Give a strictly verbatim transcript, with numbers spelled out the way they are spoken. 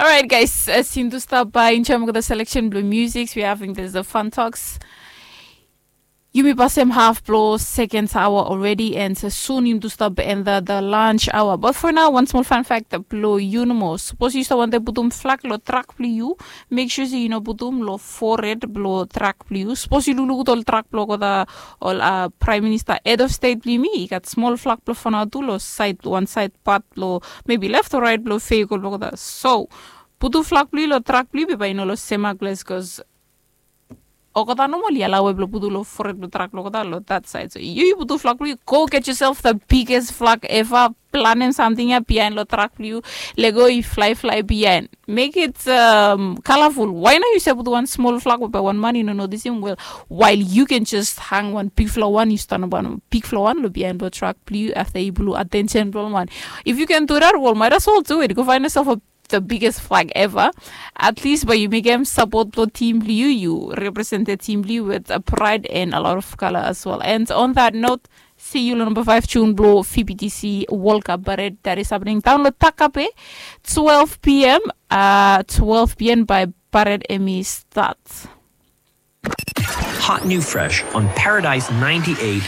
Alright guys, as yumi tu stap bai enjoim olgeta selection blong music, we having this the fun talks. Yumi pasem half blong second hour already, and soon yumi tu stap bai enta the lunch hour. But for now, one small fun fact blong yu nomo. Sapos yu stap wantem putum flag long trak blong yu, make sure se yu no putum long forehead blong trak blong yu. Sapos yu lukluk ol trak blong olgeta ol uh, prime minister, head of state blong yumi, i gat small flag blong fanau tu long side, one side part blong maybe left or right blong vehicle blong olgeta. So putum flag blong yu long trak blong yu, be bai yu no long sema glas, cause olgeta nomali alao we blong putum long forehead blong trak blong olgeta long that side. So yu yu putum flag blong yu, go get yourself the biggest flag ever. Planem samting ya bihain long trak blong yu, lego i flaiflai bihain. Make it um, colorful. Why not yu save putum wan small flag we bai wan man i no notisim? Well, while you can just hang wan bigfala wan, yu stanap wan bigfala wan long bihain blong trak blong yu afta i pulu attention blong wan. If you can do that, well, might as well do it. Go find yourself a the biggest flag ever. At least bai yu mekem support blong team blong yu, yu represent the team blong yu with a pride and a lot of color as well. And on that note, see you long number five tune blong V B T C World Cup parade that is happening down long Takape, twelve p.m. Uh, twelve p.m. by parade Emmy start. Hot new fresh on Paradise ninety-eight.